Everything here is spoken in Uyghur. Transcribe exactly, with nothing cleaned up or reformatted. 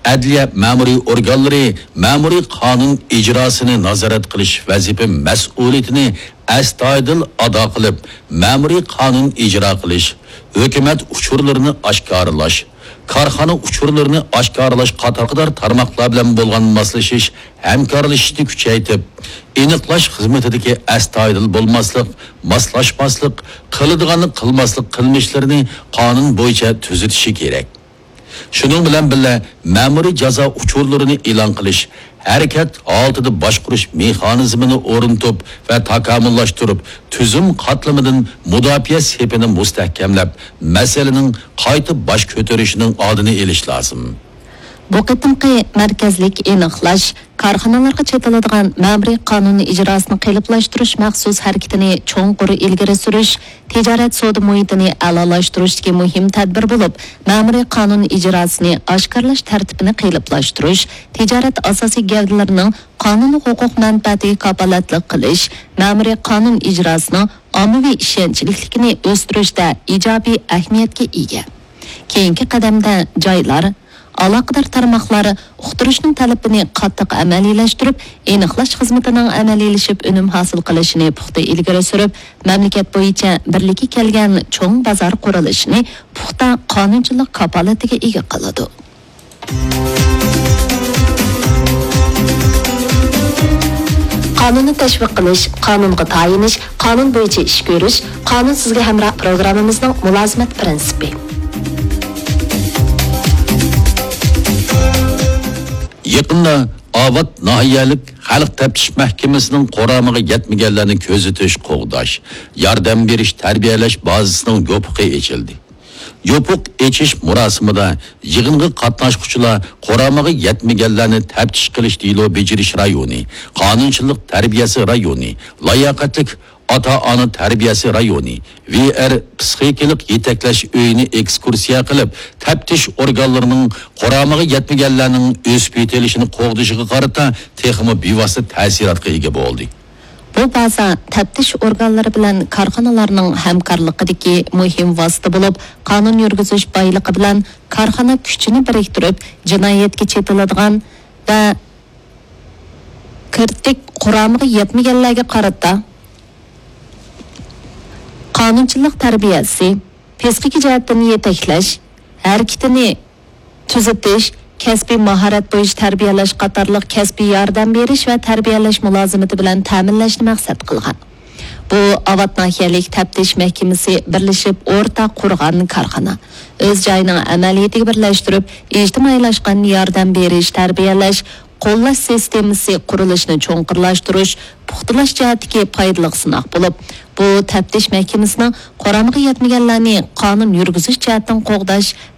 ئەدلىيە مەمۇرىي ئورگانلىرى مەمۇرىي قانۇن ئىجراسىنى نازارەت قىلىش ۋەزىپە مەسئۇلىيىتىنى ئەستايىدىل ئادا قىلىپ، مەمۇرىي قانۇن ئىجرا قىلىش، ھۆكۈمەت ئۇچۇرلىرىنى ئاشكارىلاش، كارخانا ئۇچۇرلىرىنى ئاشكارىلاش قاتارلىق تارماقلار بىلەن بولغان ماسلىشىش، ھەمكارلىشىشنى كۈچەيتىپ، ئېنىقلاش خىزمىتىدىكى ئەستايىدىل بولماسلىق، ماسلاشماسلىق، قىلىدىغاننى قىلماسلىق قىلمىشلىرىنى قانۇن بويىچە تۈزىتىشى كېرەك. شۇنىڭ بىلەن بىللە، مەمۇرىي جازا ئۇچۇرلىرىنى ئېلان قىلىش، ھەرىكەت ھالىتىدە باشقۇرۇش مېخانىزمىنى ئورنىتىپ ۋە تاكامۇللاشتۇرۇپ، تۈزۈم قاتلىمىدىن مۇداپىئە سېپىنى مۇستەھكەملەپ، مەسىلىنىڭ قايتا باش كۆتۈرۈشىنىڭ ئالدىنى ئېلىش لازىم. بۇ قېتىمقى مەركەزلىك ئېنىقلاش كارخانىلارغا چېتىلىدىغان مەمۇرىي قانۇن ئىجراسىنى قېلىپلاشتۇرۇش مەخسۇس ھەرىكىتىنى چوڭقۇر ئىلگىرى سۈرۈش، تىجارەت سودا مۇھىتىنى ئەلالاشتۇرۇشتىكى مۇھىم تەدبىر بولۇپ، مەمۇرىي قانۇن ئىجراسىنى ئاشكارىلاش تەرتىپىنى قېلىپلاشتۇرۇش، تىجارەت ئاساسىي گەۋدىلىرىنىڭ قانۇن ھوقۇق مەنپەئەتىگە كاپالەتلىك قىلىش، مەمۇرىي قانۇن ئىجراسىنىڭ ئاممىۋى ئىشەنچلىكلىكىنى ئۆستۈرۈشتە ئىجابىي ئەھمىيەتكە ئىگە. كېيىنكى قەدەمدە جايلار، ئالاقىدار تارماقلار ئۇقتۇرۇشنىڭ تەلىپىنى قاتتىق ئەمەلىيلەشتۈرۈپ، ئېنىقلاش خىزمىتىنىڭ ئەمەلىيلىشىپ ئۈنۈم ھاسىل قىلىشىنى پۇختا ئىلگىرى سۈرۈپ، مەملىكەت بويىچە بىرلىككە كەلگەن چوڭ بازار قۇرۇلۇشىنى پۇختا قانۇنچىلىق كاپالىتىگە ئىگە قىلىدۇ. قانۇننى تەشۋىق قىلىش، قانۇنغا تايىنىش، قانۇن بويىچە ئىش كۆرۈش، قانۇن سىزگە ھەمراھ پروگراممىمىزنىڭ مۇلازىمەت پىرىنسىپى. يېقىندا ئاۋات ناھىيەلىك خەلق تەپتىش مەھكىمىسىنىڭ قۇرامىغا يەتمىگەنلەرنى كۆزىتىش، قوغداش، ياردەم بېرىش، تەربىيەلەش بازىسىنىڭ يوپۇقى ئېچىلدى. يوپۇق ئېچىش مۇراسىمىدا يىغىنغا قاتناشقۇچىلار قۇرامىغا يەتمىگەنلەرنى تەپتىش قىلىش دېلو بېجىرىش رايونى، قانۇنچىلىق تەربىيەسى رايونى، لاياقەتلىك ئاتا-ئانا تەربىيەسى رايونى، ۋي ئېر پسىخىكىلىق يېتەكلەش ئۆيىنى ئېكسكۇرسىيە قىلىپ، تەپتىش ئورگانلىرىنىڭ قۇرامىغا يەتمىگەنلەرنىڭ ئۆسۈپ يېتىلىشىنى قوغدىشىغا قارىتا تېخىمۇ بىۋاسىتە تەسىراتقا ئىگە بولدى. بۇ بازا تەپتىش ئورگانلىرى بىلەن كارخانىلارنىڭ ھەمكارلىقىدىكى مۇھىم ۋاسىتە بولۇپ، قانۇن يۈرگۈزۈش بايلىقى بىلەن كارخانا كۈچىنى بىرىكتۈرۈپ، جىنايەتكە چېتىلىدىغان ۋە كىرىتىك قۇرامىغا يەتمىگەنلەرگە قارىتا قانۇنچىلىق تەربىيەسى، پسىخىكا جەھەتتىن يېتەكلەش، ھەرىكىتىنى تۈزىتىش، كەسپىي ماھارەت بويىچە تەربىيەلەش قاتارلىق كەسپىي ياردەم بېرىش ۋە تەربىيەلەش مۇلازىمىتى بىلەن تەمىنلەشنى مەقسەت قىلغان. بۇ ئاۋات ناھىيەلىك تەپتىش مەھكىمىسى بىرلىشىپ ئورتاق قۇرغان كارخانا. ئۆز جايىنىڭ ئەمەلىيىتىگە بىرلەشتۈرۈپ، ئىجتىمائىيلاشقان ياردەم بېرىش، تەربىيەلەش، قوللاش سىستېمىسى قۇرۇلۇشىنى چوڭقۇرلاشتۇرۇش، پۇختىلاش جەھەتتىكى پايدىلىق سىناق بولۇپ، بۇ تەپتىش مەھكىمىسىنىڭ قۇرامىغا يەتمىگەنلەرنى قانۇن يۈرگۈزۈش جەھەتتىن قوغداش،